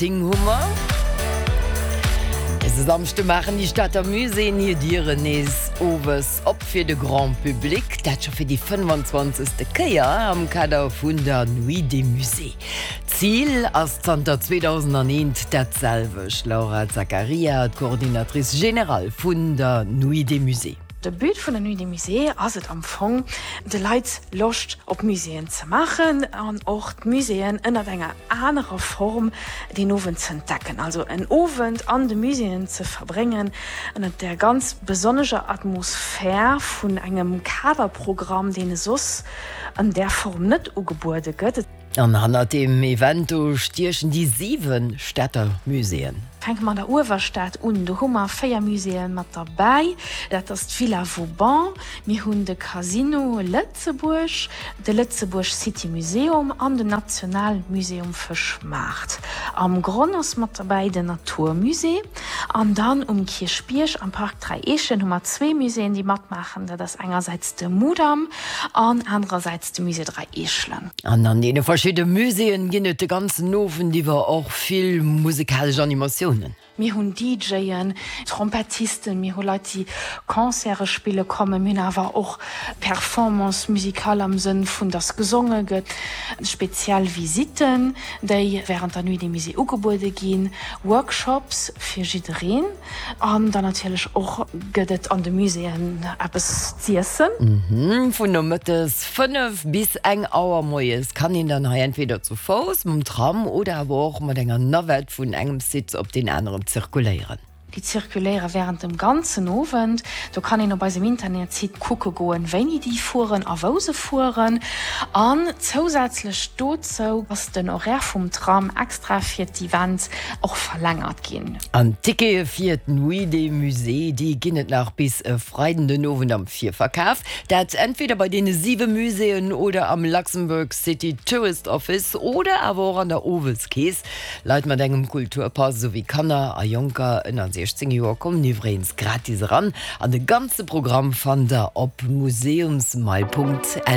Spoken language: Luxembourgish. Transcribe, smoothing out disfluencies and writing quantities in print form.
10 hu mer. Dëse Samschde maachen déi Stater Muséeën hir Dieren nees owes op fir de Grand Public. Dat scho fir déi 25. Kéier am Kader vun der Nuit des Musées. D'Zil ass zanter 2001 dat selwecht. Laura Zaccaria, d'Coordinatrice générale vun der Nuit des Musées. De But vun der Nuit des Musées ass et am Fong, de Leit Loscht op Muséeën ze maachen an och d'Muséeën ënnert enger anerer Form deen Owend ze entdecken. Also en Owend an de Muséeën ze verbréngen ënnert där ganz besonnescher Atmosphär vun engem Kaderprogramm, deen e soss an där Form net ugebuede gëtt. An hannert deem Event do stiechen déi 7 Stater Muséeën. Fänke mer an der Uewerstad un, do hu mer 4 Muséeë mat derbäi. Dat ass d'Villa Vauban, mir hunn de Casino Lëtzebuerg, de Lëtzebuerg City Museum an den Nationalmuseum Fëschmaart. Am Gronn ass mat derbäi den Natur Musée. An dann um Kierchbierg am Park Dräi Eechen hu mer zwee Muséeën, déi matmaachen. Dat ass engersäits de Mudam an anerersäits de Musée Dräi Eechelen. An an deene verschidde Muséeën ginn et de ganzen Owend iwwer och vill musekalesch Animatiounen. Mir hunn DJen, Trompettisten, mir hu Leit, déi Concerte spille kommen. Mir hunn awer och Performance musicale am Sënn vun, dass gesonge gëtt, speziell Visitten, déi wärend der Nuit des Musées ugebuede ginn, Workshops fir jiddereen. An dann natierlech och gëtt et an de Muséeën eppes z'iessen. Vun nomëttes 5 bis eng Auer moies kann een dann hei entweder zu Fouss, mam Tram oder awer och mat enger Navette vun engem Site op deen aneren zirkuléieren. Déi zirkuléiere wärend dem ganzen Owend. Do kann een op eisem Internetsite kucke goen, wéini déi fueren a wou se fueren. An zousätzlech dozou ass den Horaire vum Tram extra fir d'Event och verlängert ginn. An d'Tickete fir d'Nuit des Musées, déi ginn et nach bis e Freiden den Owend am Virverkaf. Dat entweder bei deene siwe Muséeën oder am Luxembourg City Tourist Office oder awer och an der Oweskeess. Leit mat engem Kulturpass esouwéi Kanner a Jonker ënner 16 Joer kommen iwwregens gratis eran. An de ganze Programm fannt der op museumsmail.lu.